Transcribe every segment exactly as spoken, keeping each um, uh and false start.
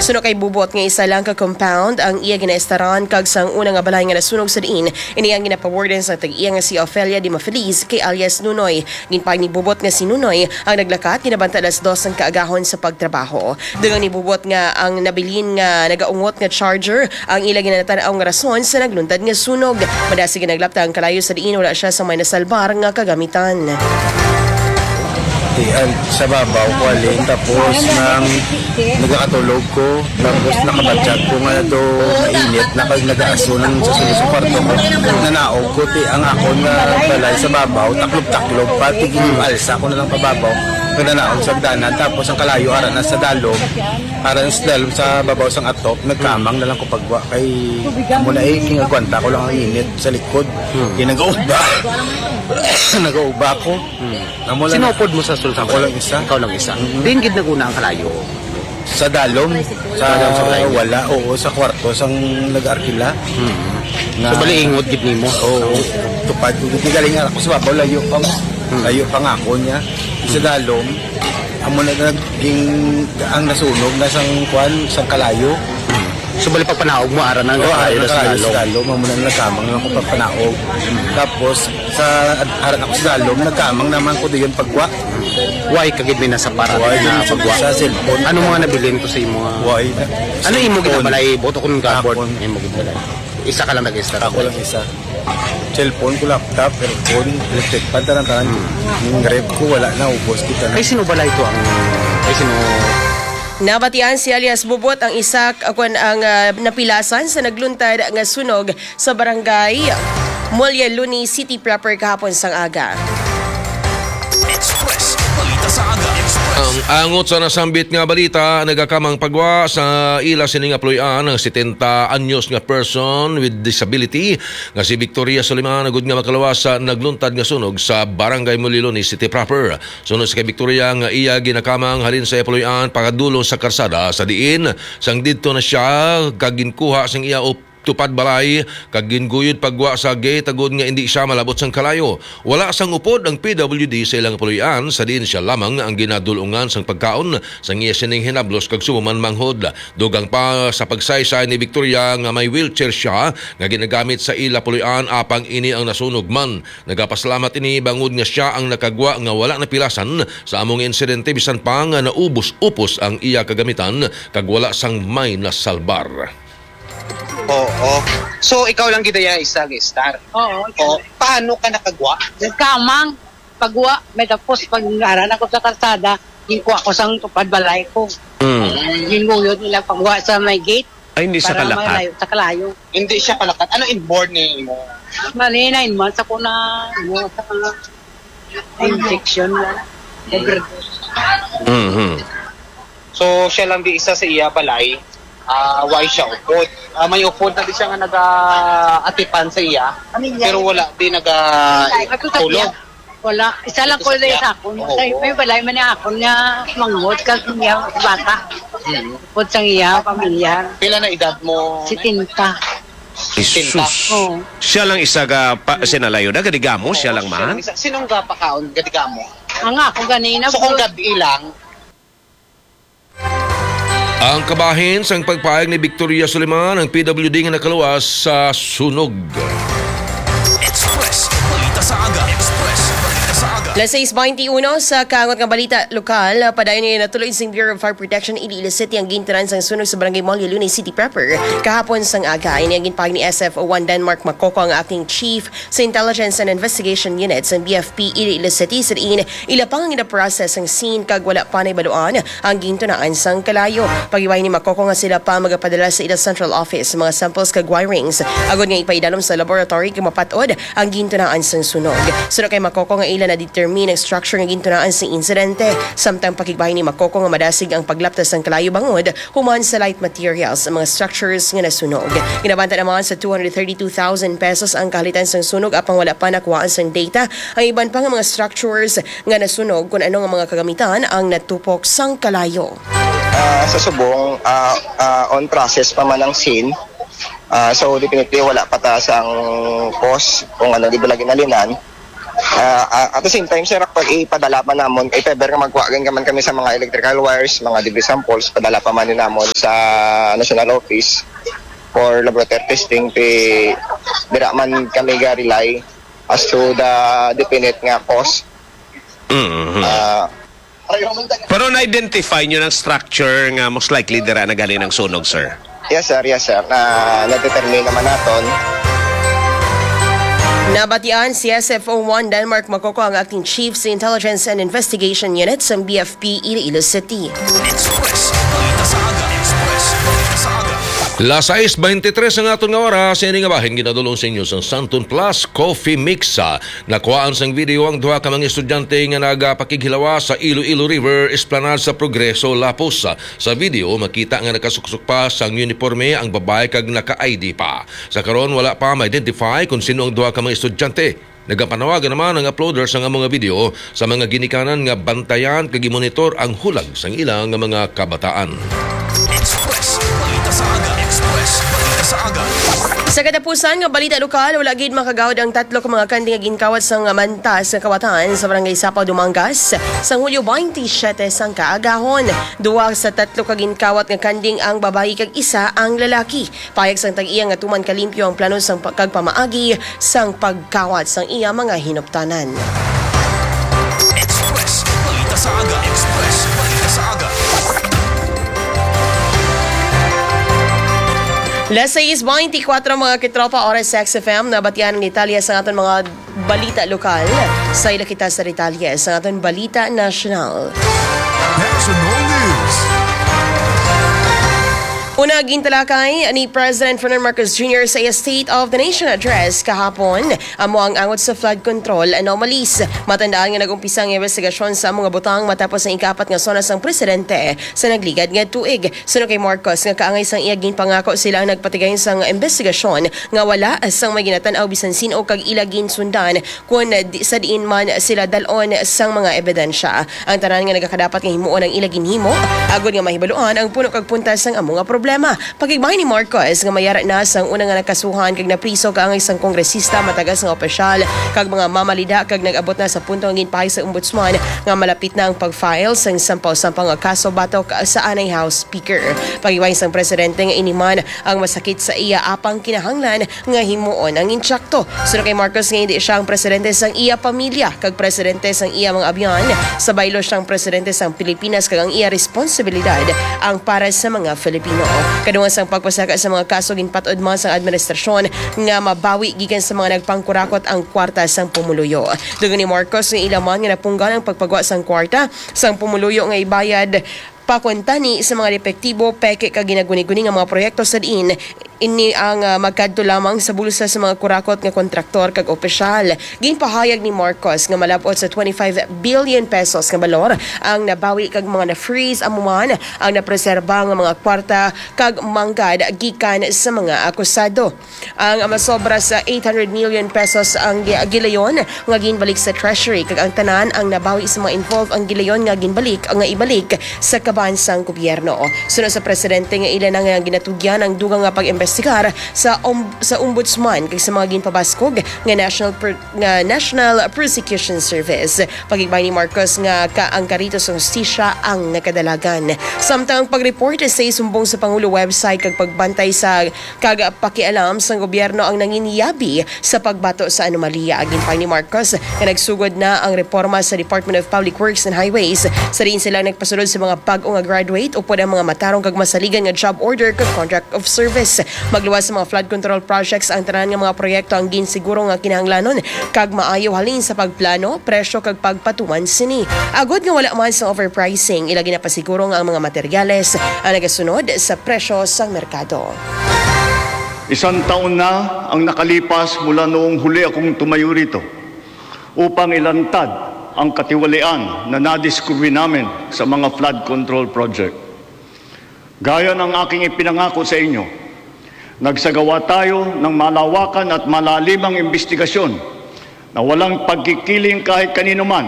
Suno kay Bubot nga isa lang ka compound ang iya ginaestaran kag sang una nga balay nga nasunog sa diin, ini ang ginapawarden sa tag-iya nga si Ofelia Di Mafeliz kay alias Nunoy. Ginpahayag ni Bubot nga si Nunoy ang naglakat ginabantad alas dos sang kaagahon sa pagtrabaho. Dugang ni Bubot nga ang nabilin nga nagaungot nga charger ang ila ginatan-aw nga rason sa nagluntad nga sunog. Madasig nga naglapta ang kalayo sa diin wala siya sa may nasalbar nga kagamitan. Tian sa babaw ko alin, tapos nang nagakatulog ko, tapos nakabatyag ko nga do mainit na kag nagaaso lang sa sulod sa kwarto ko. Nanaog ko ti ang akon nga balay sa babaw, taklob-taklob pa, tigil alsa ko na lang pababaw. Nanaog sa agdanan, tapos ang kalayo ara na sa dalom, ara na sa dalom sa babaw sang atop, nagkamang na lang ko pagwa kay amo na eh, kingagwanta ko lang ang init sa likod. Kaya nag-uba. Nag-uba ko. Amo lang. Sinupod mo sa sulod sa Ako lang isa. Ikaw lang isa. Mm-mm. Diin gid naguna ang kalayo. Sa dalom, sa dalom sa balay. Wala, oo, sa kwarto sang nag-arkila. So bali ingod gid nimo. Oo, tupad ko. Di galing ako sa babaw, layo pa mo. Layo pa nga ako niya. Sa dalom, amo na naging ang nasunog na sang kwan, sang kalayo. So bali pagpanaog mo ara na Oo, nakalayo ara na sa nakalayo sa dalom. Dalom, amo na nagkamang lang ko pagpanaog. Tapos, sa ara na ko sa dalom, nagkamang naman ko diyon pagwa. Why ka gid may nasa para Why na gid pagwa? Sa cellphone. Ano mga nabilin ko sa imo nga? Why? Ano imo Cellphone. Ginabalay? Buto ko ng cardboard. Akon. Imo ginabalay. Isa ka lang nag-start. Ako lang isa. Cellphone ko, laptop, earphone, electric fan, tanan-tanan. Yung ref ko, wala na, ubos kita na. Kay sino bala ito ang kay sino? Nabatian si alias Bubot ang isa akon ang ah, napilasan sa nagluntad nga sunog sa barangay Molyaluni City proper kahapon sang aga. Express. Balita sa aga. Express. Ang angot sa nasambit nga balita, nagakamang pagwa sa ila sini nga puloy-an ang setenta anyos nga person with disability nga si Victoria Soliman, agud nga makaluwas sa nagluntad nga sunog sa Barangay Muliloni City proper. Suno sa kay Victoria nga iya ginakamang halin sa iya puloy-an pakadulong sa karsada sa diin sang didto na siya kag ginkuha sang iya op- tupad balay kag ginguyod pagwa sa gate agud nga indi siya malabot sang kalayo. Wala sang upod ang P W D sa ilang puloy-an sa diin siya lamang ang ginadul-ungan sang pagkaon sang iya sining hinablos kag subong man manghod. Dugang pa sa pagsaysay ni Victoria nga may wheelchair siya nga ginagamit sa ila puloy-an apang ini ang nasunog man. Nagapasalamat ini bangod nga siya ang nakagwa nga wala napilasan sa among insidente bisan pa nga naubos-upos ang iya kagamitan kag wala sang may nasalbar. Oo. So, ikaw lang gid iya isa, Star. Oo. O, paano ka nakagwa? Nagkamang, pagwa, may tapos pag aran ako sa kalsada, ginkuha ko sang tupad balay ko. Mm. Ginguyod nila pagwa sa may gate Ay, hindi sa para kalakat. Malayo sa kalayo. Hindi siya kalakat. Ano inborn ni mo? Mali, nine months ako na, ano, sa mga injection na. Overdose. Mhm. So, siya lang di isa sa iya balay. Ah, why siya upod? Ah, may upod na di siya nga nag-atipan sa iya. Pero wala di naga tulog. Wala. Isa lang ko sa akon. May balay man niya akon nga manghod kag niya bata. Upod sang iya pamilya. Pila na edad mo? Setenta. Jesus. Oo. Siya lang isa ka pa, sinalayo na, gadigamo, siya lang man. Sinong gapakaon? Gadigamo. Ang ako ganina. So kung gabi lang, Ang kabahin sang pagpahayag ni Victoria Suliman ang P W D nga nakaluwas sa sunog. Express. Balita sa aga. Express. Balita sa aga. Las sais bainti uno sa kaangot nga balita lokal, padayon nga natuloy sing Bureau of Fire Protection Iloilo City ang gintunan sang sunog sa Barangay Molyo, Lunay City proper kahapon sang aga. Ini ang ginpahayag ni S F O one Denmark Makoko, ang acting chief sa Intelligence and Investigation Unit sa B F P Iloilo City, sa diin ila pa nga ginaprocess ang scene kag wala pa nahibaluan ang gintunaan sang kalayo. Paghibayi ni Makoko nga sila pa magapadala sa ila central office mga samples kag wirings agod nga ipaidalom sa laboratory kag mapat-od ang gintunaan sang sunog. Suno kay Makoko nga ila na-determine ang structure nga gintunaan sa insidente, samtang pakigbahin ni Makoko nga madasig ang paglapta sang kalayo bangod human sa light materials ang mga structures nga nasunog. Ginabanta naman sa two hundred thirty-two thousand pesos ang kahalitan sang sunog, apang wala pa nakuhaan sang data ang iban pa nga mga structures nga nasunog, kung ano nga mga kagamitan ang natupok sang kalayo. Ah, sa subong, ah, ah, on process pa man ang scene. Ah, so definitely wala pa ta sang cause kung ano di ba lagi nalinan. Ah, ah, at the same time, sir, pag ipadala pa namon, if ever nga magkuha gid man kami sa mga electrical wires, mga debris samples, padala pa man ni namon sa National Office for laboratory testing, ti dira man kami ga-rely as to the definite nga cause. Mm-hmm. Ah, Pero na-identify nyo ng structure nga most likely dira na galing ang sunog, sir? Yes, sir. Yes, sir. Na, na-determine naman naton. Nabatian si S F O one Denmark Makoko, ang acting chief sa Intelligence and Investigation Unit sa B F P Iloilo City. Express. Balita sa aga. Express. Balita sa aga. Las sais veintitrés ang aton nga oras. Ini nga bahin ginadulong sa inyo sang Santon Plus Coffee Mix. Ah, nakuhaan sang video ang duha ka mga estudyante nga nagapakighilawa sa Iloilo River Esplanade sa Progreso, Lapus. Sa video, makita nga nakasuksok pa sang uniforme ang babae kag naka-I D pa. Sa karon, wala pa ma-identify kung sino ang duha ka mga estudyante. Nagapanawagan naman ang uploader sang amo nga video sa mga ginikanan nga bantayan kag i-monitor ang hulag sang ila nga mga kabataan. Express. Balita sa aga. Express. Balita sa aga. Sa katapusan nga balita lokal, wala gid makagawad ang tatlo ka mga kanding nga ginkawat sang mantas nga kawatan sa Barangay Sapaw, Dumangas, sang Hulyo twenty-seven sang kaagahon. Duha sa tatlo ka ginkawat nga kanding ang babayi kag isa ang lalaki. Payag sang tag-iya nga tuman kalimpyo ang plano sang pa- kag pamaagi sang pagkawat sang iya mga hinuptanan. Express. Balita sa aga. Express. Balita sa aga. Las sais veinticuatro, mga kitropa, oras sa X F M, nabatian ang detalye sa aton mga balita lokal. Sa ila kita sa detalye sa aton balita nasyonal. National News. Una, gintalakay ni President Ferdinand Marcos Junior sa iya State of the Nation Address kahapon amo ang angot sa flood control anomalies. Matandaan nga nag-umpisa ang investigasyon sa amo nga butang matapos ang ikaapat nga SONA sang presidente sa nagligad nga tuig. Suno kay Marcos nga kaangay sang iya ginpangako, sila ang nagpatigay sang investigasyon nga wala sang may ginatan-aw bisan sin-o kag ila ginsundan kon di, sa diin man sila dal-on sang mga ebidensya. Ang tanan nga nagakadapat nga himuon ang ila ginhimo agod nga mahibaluan ang puno kag puntas sang amo nga problema. Pakigbahin ni Marcos nga mayara na sang una nga nakasuhan kag napriso kaangay sang kongresista, matagas nga opisyal kag mga mamalida kag nag-abot na sa punto nga ginpahay sa ombudsman nga malapit na ang pag-file sang sampaw-sampaw nga kaso batok sa anay House Speaker. Pakigbahin sang presidente nga ini man ang masakit sa iya apang kinahanglan nga himuon ang insakto. Suno kay Marcos nga hindi siya ang presidente sang iya pamilya kag presidente sang iya mga abyan, sa baylo siya ang presidente sang Pilipinas kag ang iya responsibilidad ang para sa mga Filipino. Kadungan sang pagpasaka sa mga kaso, ginpat-od man sang administrasyon nga mabawi gikan sa mga nagpangkurakot ang kwarta sang pumuluyo. Dugang ni Marcos nga ila man nga napunggan ang pagpagwa sang kwarta sang pumuluyo nga ibayad pakuntani sa mga depektibo, peke kag ginaguni-guni nga mga proyekto sa diin ini ang, ah, magkadto lamang sa bulsa sa mga kurakot nga kontraktor kag opisyal. Ginpahayag ni Marcos nga malab-ot sa twenty-five billion pesos nga balor ang nabawi kag mga na-freeze, amo man ang napreserba nga mga kwarta kag manggad gikan sa mga akusado. Ang masobra sa eight hundred million pesos ang gi-, gilayon nga ginbalik sa Treasury, kag ang tanan ang nabawi sa mga involved ang gilayon nga ginbalik nga ibalik sa kaban sang gobyerno. Suno sa presidente nga ila na nga ginatugyan ang dugang nga pag-imbestigar sa om-, sa ombudsman kag sa mga ginpabaskog nga National Pro-, nga National Prosecution Service. Pakigbahin ni Marcos nga ka ang karito sa hustisya ang nagkadalagan. Samtang ang pag-report sa isumbong sa Pangulo website kag pagbantay sa kag pakialam sang gobyerno ang nanginyabi sa pagbato sa anomalya. Ginpahayag ni Marcos nga nagsugod na ang reporma sa Department of Public Works and Highways, sa diin sila nagpasulod sa mga bag-o nga graduate upod ang mga matarong kag masaligan nga job order kag contract of service. Magluwas sa mga flood control projects ang tanan nga mga proyekto ang ginsiguro nga kinahanglanon kag maayo halin sa pagplano, presyo kag pagpatuman sini. Agod nga wala man sa overpricing, ila ginapasiguro nga ang mga materyales ang nagasunod sa presyo sang merkado. Isang taon na ang nakalipas mula noong huli akong tumayo rito upang ilantad ang katiwalian na nadiskubre namin sa mga flood control project. Gaya ng aking ipinangako sa inyo, nagsagawa tayo ng malawakan at malalimang imbestigasyon na walang pagkikiling kahit kanino man.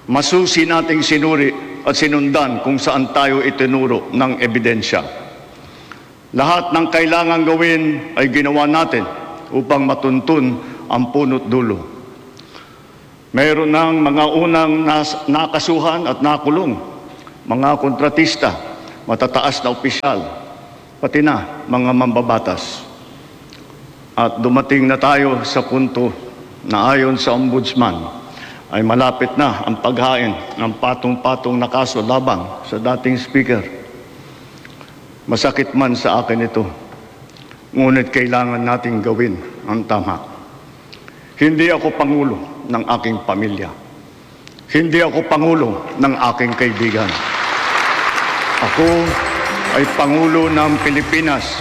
Masusi nating sinuri at sinundan kung saan tayo itinuro ng ebidensya. Lahat ng kailangang gawin ay ginawa natin upang matuntun ang punot dulo. Mayroon ng mga unang nas-, nakasuhan at nakulong, mga kontratista, matataas na opisyal, pati na mga mambabatas. At dumating na tayo sa punto na ayon sa Ombudsman ay malapit na ang paghain ng patong-patong na kaso labang sa dating speaker. Masakit man sa akin ito, ngunit kailangan nating gawin ang tama. Hindi ako pangulo ng aking pamilya. Hindi ako pangulo ng aking kaibigan. Ako ay pangulo ng Pilipinas.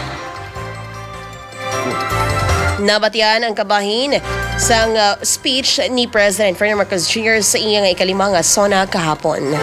Nabatian ang kabahin sang, uh, speech ni President Ferdinand Marcos Junior sa iya nga ikalima nga SONA kahapon.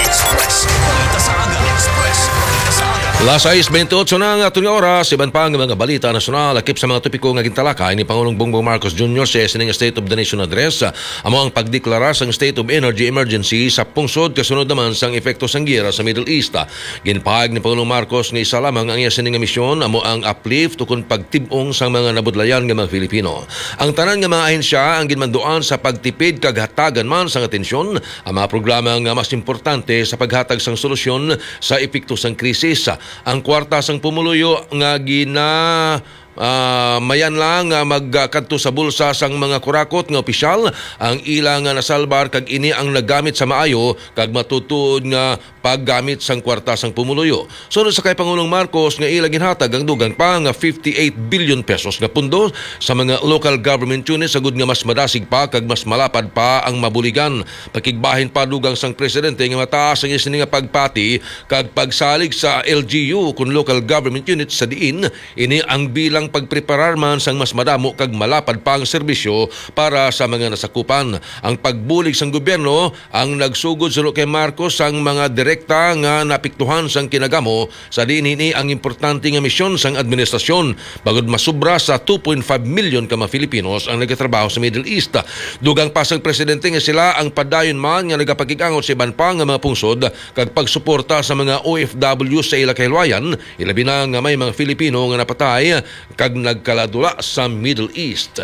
Express. Balita sa aga. Express. Balita sa aga. Las sais bentiocho na ang aton nga oras. Iban pa nga mga balita nasyonal, lakip sa mga topiko nga gintalakay ni Pangulong Bongbong Marcos Junior sa iya sining State of the Nation Address, amo ang pagdeklara sang State of Energy Emergency sa pungsod, kasunod naman sang epekto sang giyera sa Middle East. Ginpahayag ni Pangulong Marcos nga isa lamang ang iya sini nga misyon, amo ang uplift ukon pagtib-ong sang mga nabudlayan nga mga Filipino. Ang tanan nga mga ahensya ang ginmanduan sa pagtipid kag hatagan man sang atensyon ang mga programa nga mas importante sa paghatag sang solusyon sa epekto sang krisis. Ang kwarta sang pumuluyo nga gina Ah, mayan lang nga magkadto sa bulsa sang mga kurakot nga opisyal ang ila nga nasalbar, kag ini ang nagamit sa maayo kag matutuod nga paggamit sang kwarta sang pumuluyo. Sunod sa kay Pangulong Marcos nga ila ginhatag ang dugang pa nga fifty-eight billion pesos nga pundo sa mga local government units, agud nga mas madasig pa kag mas malapad pa ang mabuligan. Pakigbahin pa dugang sang presidente nga mataas ang iya sini nga pagpati kag pagsalig sa L G U kon local government units sa diin ini ang bilang pagpreparar man sang mas madamo kag malapad pa nga serbisyo para sa mga nasakupan. Ang pagbulig sang gobyerno ang nagsugod suno kay Marcos sang mga direkta nga naapektuhan sang kinagamo, sa diin ini ang importante nga misyon sang administrasyon, bangod masubra sa two point five million ka mga Filipinos ang nagatrabaho sa Middle East. Dugang pa sang presidente nga sila ang padayon man nga nagapakig-angot sa iban pa nga mga pungsod kag pagsuporta sa mga O F W sa ila kahilwayan, ilabi na nga may mga Filipino nga napatay kag nagkaladula sa Middle East.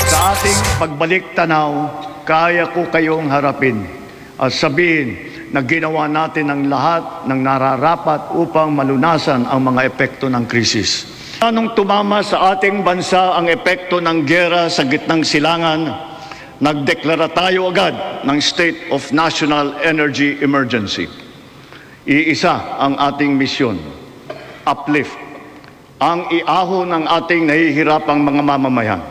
Sa ating pagbalik tanaw, kaya ko kayong harapin at sabihin na ginawa natin ang lahat ng nararapat upang malunasan ang mga epekto ng krisis. Anong tumama sa ating bansa ang epekto ng giyera sa gitnang silangan, nagdeklara tayo agad ng State of National Energy Emergency. Iisa ang ating misyon, uplift, ang iahon ng ating nahihirapang mga mamamayan.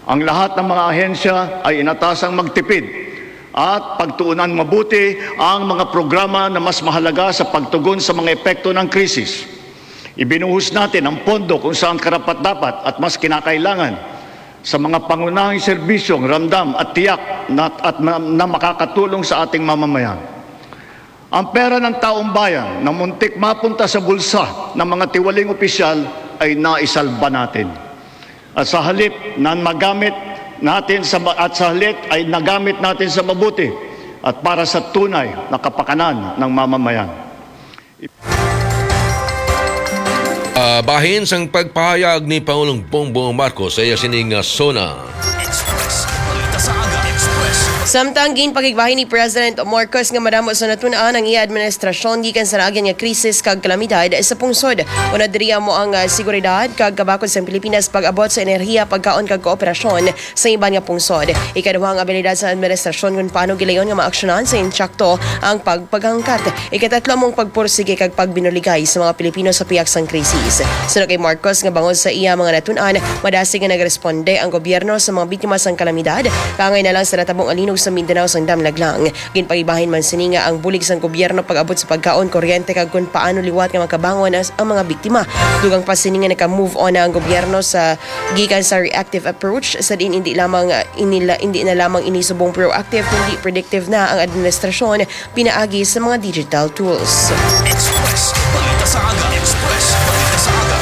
Ang lahat ng mga ahensya ay inatasang magtipid at pagtuunan mabuti ang mga programa na mas mahalaga sa pagtugon sa mga epekto ng krisis. Ibinuhos natin ang pondo kung saan karapat-dapat at mas kinakailangan sa mga pangunahing serbisyo, ramdam at tiyak na, at na, na makakatulong sa ating mamamayan. Ang pera ng taong bayan na muntik mapunta sa bulsa ng mga tiwaling opisyal ay naisalba natin. At sa halip na magamit natin sa ma-, at sa halip ay nagamit natin sa mabuti at para sa tunay na kapakanan ng mamamayan. Ah, bahin sang pagpahayag ni Pangulong Bongbong Marcos sa iya sining, ah, SONA. Express. Balita sa Aga. Express. Samtang ginpakigbahin ni President Marcos nga madamo sa natun-an ang iya administrasyon gikan sa naagyan nga krisis kag kalamidad sa pungsod, una diri amo ang, ah, seguridad kag kabakod sang Pilipinas pag-abot sa enerhiya, pagkaon kag kooperasyon sa iban nga pungsod. Ikaduha, ang abilidad sa administrasyon kung paano gilayon nga maaksyonan sa insakto ang pagpagangkat. Ikatatlo, amo ang pagpursige kag pagbinuligay sa mga Pilipino sa pihak sang krisis. Suno kay Marcos nga bangod sa iya mga natun-an, madasig nga nagresponde ang gobyerno sa mga biktima sang kalamidad, kaangay na lang sa natabong alinog sa Mindanao sang damlag lang. Ginpaibahin man sini nga ang bulig sang gobyerno pag-abot sa pagkaon, kuryente kag kun paano liwat nga makabangon ang, ang mga biktima. Dugang pa sini nga naka-move on na ang gobyerno sa gikan sa reactive approach sa diin hindi lamang, ah, inila, hindi na lamang ini subong proactive kundi predictive na ang administrasyon pinaagi sa mga digital tools. Express. Balita sa Aga. Express. Balita sa Aga.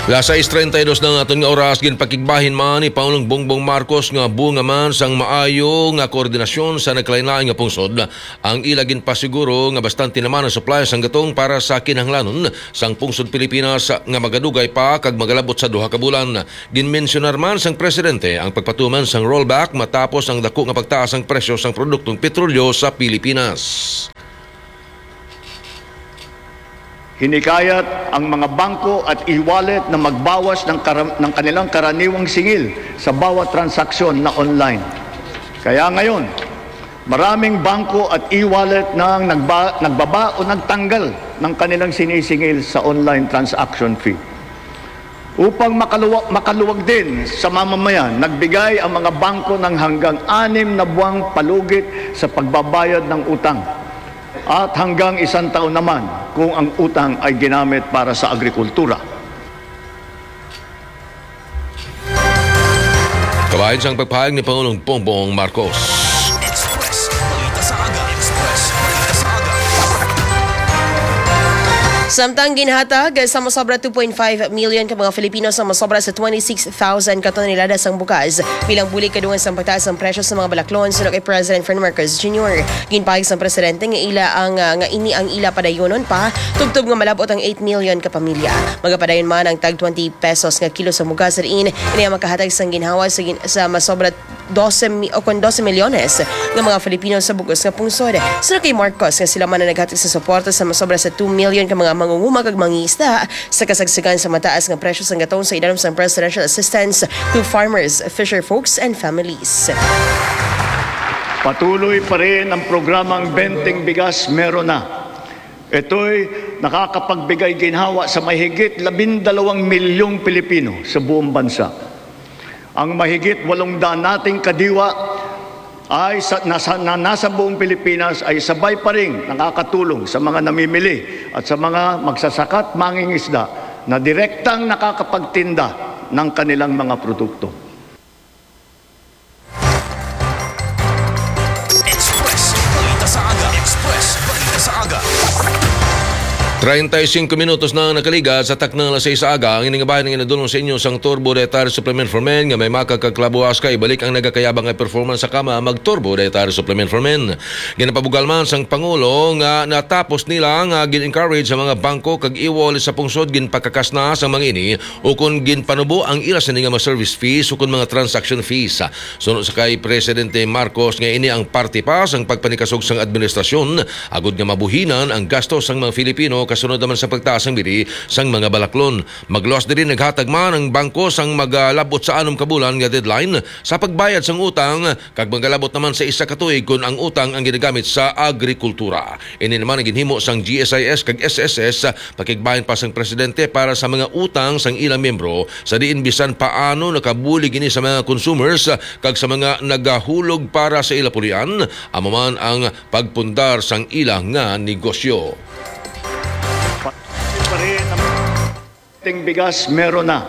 Las sais treinta y dos na ang aton nga oras. Ginpakigbahin man ni Pangulong Bongbong Marcos nga bunga man sang maayo nga koordinasyon sa nagkalain-lain nga pungsod ang ila ginpasiguro nga bastante naman ang supply sang gatong para sa kinahanglanon sang pungsod Pilipinas nga magadugay pa kag magalabot sa duha ka bulan. Ginmensyonar man sang presidente ang pagpatuman sang rollback matapos ang dako nga pagtaas sang presyo sang produktong petrolyo sa Pilipinas. Hinikayat ang mga bangko at e-wallet na magbawas ng, karam- ng kanilang karaniwang singil sa bawat transaksyon na online. Kaya ngayon, maraming bangko at e-wallet na ang nagba- nagbaba o nagtanggal ng kanilang sinisingil sa online transaction fee. Upang makaluwa- makaluwag din sa mamamayan, nagbigay ang mga bangko ng hanggang anim na buwang palugit sa pagbabayad ng utang at hanggang isang taon naman kung ang utang ay ginamit para sa agrikultura. Kabahin sang pagpahayag ni Pangulong Bongbong Marcos. Express Balita sa Aga. Express Balita sa Aga. Samtang ginhatag sa masobra two point five million ka mga Filipino sa masobra sa twenty-six thousand ka tonelada sang bugas bilang bulig kadungan sang pagtaas sang presyo sa mga balaklon, suno kay President Ferdinand Marcos Junior. Ginpahayag sang presidente nga ila ang, ah, nga ini ang ila padayonon pa tubtob nga malab-ot ang eight million ka pamilya. Magapadayon man ang tag twenty pesos nga kilo sa bugas, diin ini ang makahatag sang ginhawa sa, gin- sa masobra dose mi- o kon dose milyones nga mga Filipino sa bug-os nga pungsod. Suno kay Marcos nga sila man ang naghatag sa suporta sa masobra sa two million ka mga mangunguma kag mangingisda sa kasagsagan sa mataas nga presyo sang gatong sa ilanom sang Presidential Assistance to Farmers, Fisher Folks and Families. Patuloy pa rin ang programang Benteng Bigas Meron Na. Ito'y nakakapagbigay ginhawa sa mahigit labindalawang milyong Pilipino sa buong bansa. Ang mahigit walong daan nating kadiwa ay sa, nasa, na nasa buong Pilipinas ay sabay pa ring nakakatulong sa mga namimili at sa mga magsasaka't mangingisda na direktang nakakapagtinda ng kanilang mga produkto. Express Balita sa Aga. Express Balita sa Aga. Treinta y cinco minutos na ang nakaliga sa taknang alas sais sa aga. Ang ining bahin nga inadulong sa inyo sang Turbo Dietary Supplement for Men nga may makakagklabuas ka ibalik ang nagakayabang nga performance sa kama mag Turbo Dietary Supplement for Men. Ginapabugal man sang Pangulo nga natapos nila nga gin-encourage sa mga bangko kag e-wallet sa pungsod ginpakakas na sang mga ini ukon ginpanubo ang ila sini nga mga service fees ukon mga transaction fees. Suno sa kay Presidente Marcos nga ini ang parte pa sang pagpanikasog sang administrasyon agud nga mabuhinan ang gasto sang mga Filipino kasunod naman sa pagtaas sang bili sang mga balaklon. Magluwas diri naghatag man ang bangko sang magalabot sa anom ka bulan nga deadline sa pagbayad sang utang kag magalabot naman sa isa ka tuig kon ang utang ang ginagamit sa agrikultura. Ini naman ang ginhimo sang G S I S kag S S S, pakigbahin pa sang presidente para sa mga utang sang ilang miyembro, sa diin bisan paano nakabulig ini sa mga consumers kag sa mga nagahulog para sa ila pulian, amo man ang pagpundar sang ila nga negosyo. Ting bigas meron na.